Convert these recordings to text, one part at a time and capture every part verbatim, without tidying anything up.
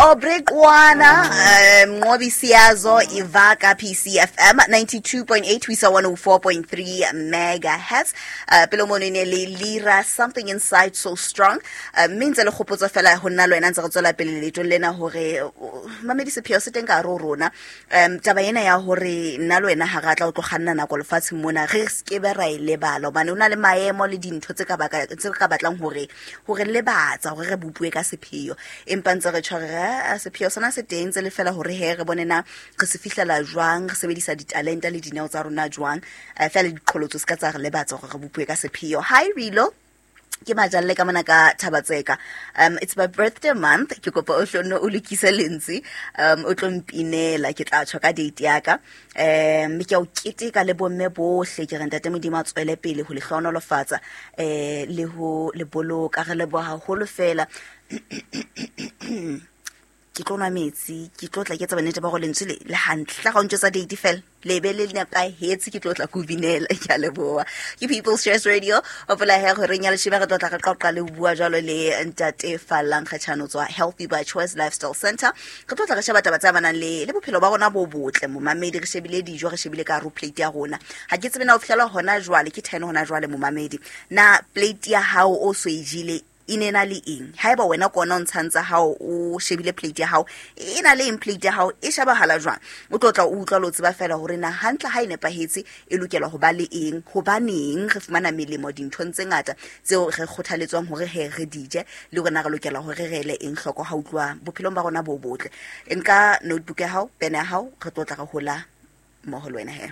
Aubrey Qwana, um Nqobi Siyazo Ivaka P C F M ninety-two point eight, we saw one oh four point three megahertz. Uh, pele mono e ne le Lira, Something Inside So Strong. Uh, mme ntse le kgopotso fela ho nna le wena ntse re tswela pele leetong lena hore, uh, mamedi sepheo se teng ka hare ho rona. Um, taba ena ya hore nna le wena ha re tla o tlo kganna nako lefatsheng mona, re se ke be ra e lebala hobane ho na le maemo le dintho tse ka baka, tse ka batlang hore, hore lebatsa hore re bopuwe ka sepheo. Empa ntse re tjho re, ah, sepheo sona se teng tse le fela hore he re bone na re se fihlela jwang, re sebedisa ditalente le dineo tsa rona jwang. Eh, fela diqholotso se ka tsa re lebatsa hore re bopuwe ka sepheo. Hi Rilo, ke majalle ka mona ka Thabatseka. Um, it's my birthday month. Ke kopa o hlo o lokise lentswe. Um, o tlo mpinela, ke tla tjho ka date ya ka. Um, mme ke a o keteka le bomme bohle. Ke re ntate Modimo a tswele pele ho le hlohonolofatsa, eh, le ho le boloka. Re leboha haholo fela. Ke tlo nwa metsi, ke tlo tla ke etsa bonnete ba hore lentswe le, le hantle. Tla ga o ntjwetsa date fela, le be le nepahetse, ke tlo tla ke o binela. Ke a leboha. Ke People's Choice Radio. Hopola he hore ya leshome re tlo tla re qoqa le ho bua jwalo le ntate Fallang Kgetjhane ho tswa Healthy by Choice Lifestyle Center. Re tlo tla re sheba taba tse amanang le, le bophelo ba rona bo botle. Momamedi, re shebile dijo, re shebile ka hare ho plate ya rona. Ha ke tsebe na ho fihlela hona jwale, ke ten hona jwale momamedi. Na plate ya hao o so e jele e ne na le eng? Haeba wena ke ona o ntshang tsa hao, o shebile plate ya hao, e na le eng plate ya hao, e shebahala jwang? O tlo tla o utlwa le o tseba fela hore na hantle ha e nepahetse e lokela ho ba le eng, hobaneng re fumana melemo dinthong tse ngata tseo re kgothaletswang hore he re di je, le hore na re lokela hore re ele eng hloko ha utluwa bophelong ba rona bo botle. Nka notebook ya hao, pen ya hao, re tlo tla re hola mmoho le wena he.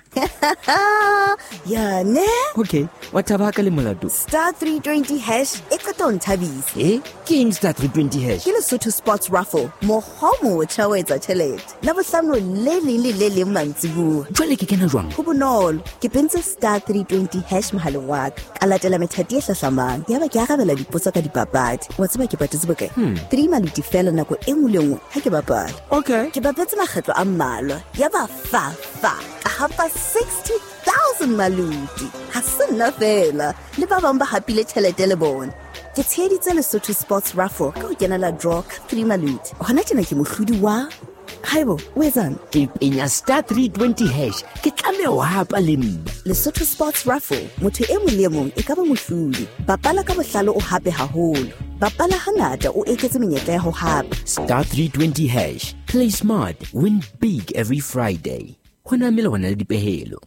Ya ne? Okay, wa thaba ka le molato. Star three twenty hash e qeta ho nthabisa. Eh? Ke eng star three twenty hash? Ke Lesotho Sports Raffle, mokgwa o motjha wa etsa tjhelete. Labohlano le leng le le leng mantsibuya. Jwale ke kena jwang? Ho bonolo. Ke pentse star three twenty hash mohaleng wa ka. Ka latela methati e hlahlamang. Yaba ke arabela dipotso ka dipapadi. Wa tseba ke patetse bokae? Hmm. Three maluti fela nako e nngwe le nngwe ha ke bapala. Okay. Ke bapetse makgetlo a mmalwa. Yaba fa fa. Ka hapa sixty thousand maluti. Ha se nna fela, le ba bang ba hapile tjhelete le bona. Ke tsheheditse Lesotho Sports Raffle ka ho kenela draw ka three maluti. Hona tjena ke mohlodi wa Haibo, o etsang? Ke penya star three twenty hash. Ke tlameha ho hapa le nna. Lesotho Sports Raffle, motho e mong le e mong e ka ba mohlodi. Bapala ka bohlale o hape haholo. Bapala hangata o eketse menyetla ya ho hapa. Star three twenty hash. Play smart, win big every Friday. Ho na mele hona le dipehelo.